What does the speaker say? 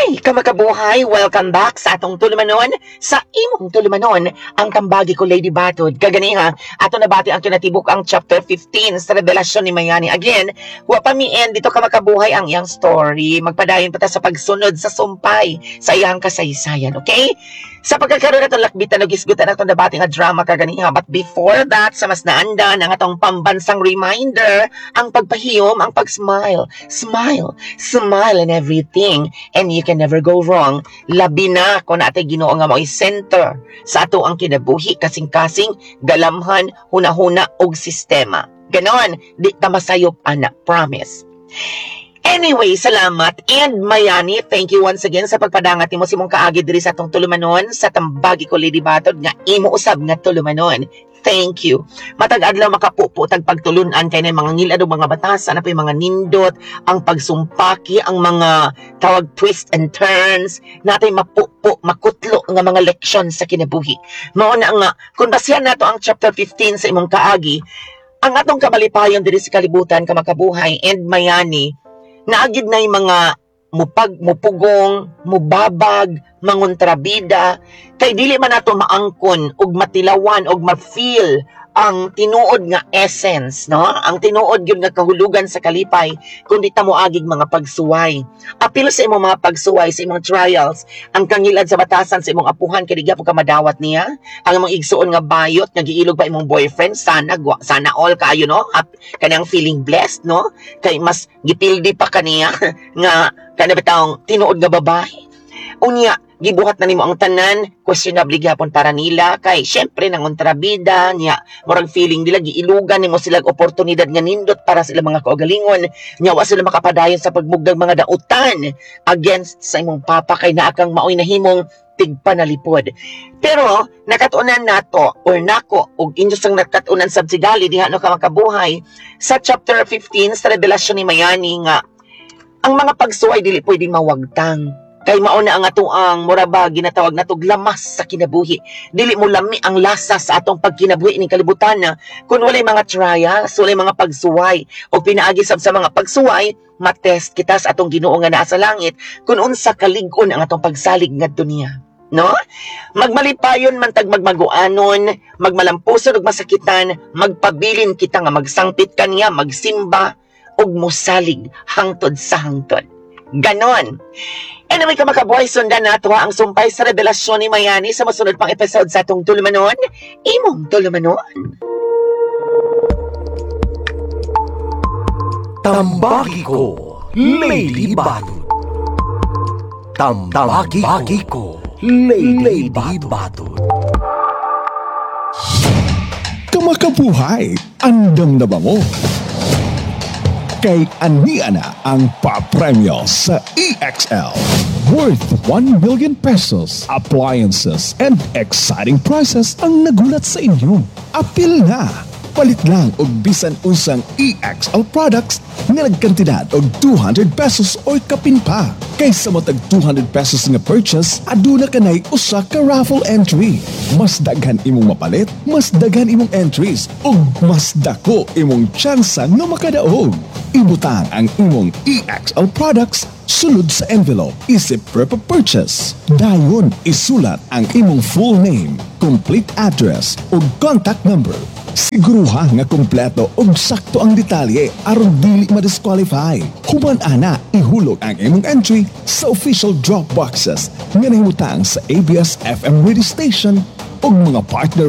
Hi, kamakabuhay! Welcome back sa atong tulumanon, sa imong tulumanon, ang Tambagi Ko, Lady Batod. Kaganiha, ato nabati ang kinatibuk ang chapter 15 sa Revelasyon ni Mayani. Again, wa pa mi end dito, kamakabuhay, ang iyang story. Magpadayon pa ta sa pagsunod sa sumpay sa iyang kasaysayan, okay? Sa pagkakaroon atong lakbitan og hisgutan atong nabati nga drama kaganiha. But before that, sa mas naandan ang atong pambansang reminder, ang pagpahiyom, ang pag-smile. Smile, smile and everything. And you can never go wrong. Labi na kung naa tay Ginoo nga mao'y center sa ato ang kinabuhi, kasing-kasing, galamhan, hunahuna ug sistema. Ganon, di ta masayop ana, promise. Anyway, salamat and Mayani, thank you once again sa pagpadangat nimo sa imong kaagi diri sa atong tulumanon sa Tambagi Ko, Lady Batod, nga imo usab nga tulumanon. Thank you. Matag adlaw makapupo tag pagtulunan kay na mga ngilad ug mga batasan na mga nindot, ang pagsumpaki, ang mga tawag twist and turns, natay mapupo, makutlo nga mga leksyon sa kinabuhi. Mao na nga kung basihan nato ang chapter 15 sa imong kaagi, ang atong kamalipayon diri sa kalibutan, kamakabuhay and Mayani, naagid na yung mga mupag mupugong, mubabag, mangontrabida, kay dili man nato maangkon ug matilawan ug ma-feel ang tinuod nga essence, no? Ang tinuod gyud nga kahulugan sa kalipay kung di ta moagig mga pagsuway. Apil sa imong mga pagsuway, sa imong trials, ang kangilad sa batasan sa imong apuhan kay di gyapon ka madawat niya, ang imong igsuon nga bayot nga giilog pa imong boyfriend, sana sana all kaayo, no? Kanang feeling blessed, no? Kay mas gipildi pa kaniya nga kana bitawng tinuod nga babae. Unya, gibuhat na nimo ang tanan, questionable gyapon para nila kay syempre nangontrabida niya, murag feeling nila giilugan nimo sila og oportunidad nga nindot para sila mga kaugalingon nya wa sila makapadayon sa pagmugdag mga dautan against sa imong papa kay naa kang maoy nahimong tigpanalipod. Pero nakatuonan nato or nako ug inyo sang nakatuonan sab sigali diha, no, kamakabuhay, sa chapter 15 sa Revelasyon ni Mayani nga ang mga pagsuway dili pwedeng mawagtang. Kay mao na ang atoang mura ba ginatawag natog lamas sa kinabuhi. Dili mo lami ang lasa sa atong pagkinabuhi ning kalibutan na kung walay mga trials, walay mga pagsuway o pinaagi sab sa mga pagsuway, matest kita sa atong Ginoo nga naa sa langit kung unsa kalig-on ang atong pagsalig ngadto niya. No? Magmalipayon man tag magmaguanon, magmalampuson ug masakitan, magpabilin kita nga magsangpit kaniya, magsimba ug mosalig hangtod sa hangtod. Ganon. Anyway, kamakabuhay, sundan nato ang sumpay sa Revelasyon ni Mayani sa masunod pang episode sa atong tulumanon, imong tulumanon. Tambagi Ko, Lady Batod. Tambagi Ko, Lady Batod. Kamakabuhay, andam na ba mo? Kay ania na ang papremyo sa EXL. Worth 1 million pesos, appliances, and exciting prizes ang nagulat sa inyo. Apil na! Palit lang og bisan unsang EXL products nga nagkantidad og 200 pesos or kapin pa. Kaysa matag 200 pesos nga purchase, aduna kanay usa ka raffle entry. Mas daghan imong mapalit, mas daghan imong entries, ug mas dako imong tsansa nga makadaog. Ibutang ang imong EXL products sulod sa envelope isip proof of purchase. Dayon isulat ang imong full name, complete address ug contact number. Siguruha nga kompleto ug sakto ang detalye aron dili ma-disqualify. Human ana, ihulog ang imong entry sa official drop boxes nga nahimutang sa ABS FM radio station ug mga partner.